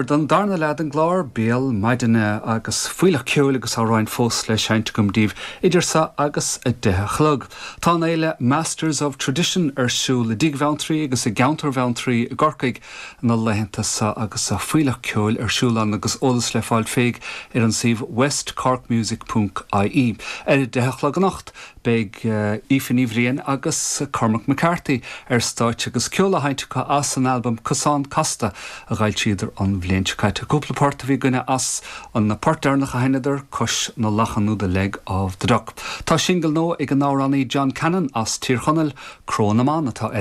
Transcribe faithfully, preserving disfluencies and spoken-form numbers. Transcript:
Don darna leath den gclár béal maidine agus fuílleach ceoil agus amhráin fós le seinnt agam daoibh idir seo agus a deich a chlog. Tá an fhéile Masters of Tradition ar siúl i dTigh Bheanntraí agus i gceantar Bheanntraí i gCorcaigh na laethanta seo agus a fuílleach ceoil ar siúl ann agus eolas le fáil féig ar an suíomh westcorkmusic.ie. Ar a deich a chlog anocht beidh Aoife Ní Bhriain agus Cormac McCarthy ar stáitse agus ceol á sheinnt acu as an albam Cosán Casta a d'fhoilsíodar an bhliain seo caite. Cúpla port a bhí againne as an na port deireanach a sheinneadar Cois na Lachan nó The Leg of the Duck. Tá singil nua ag an amhránaí John Cannon as Tír Chonaill Cró na mBan atá air.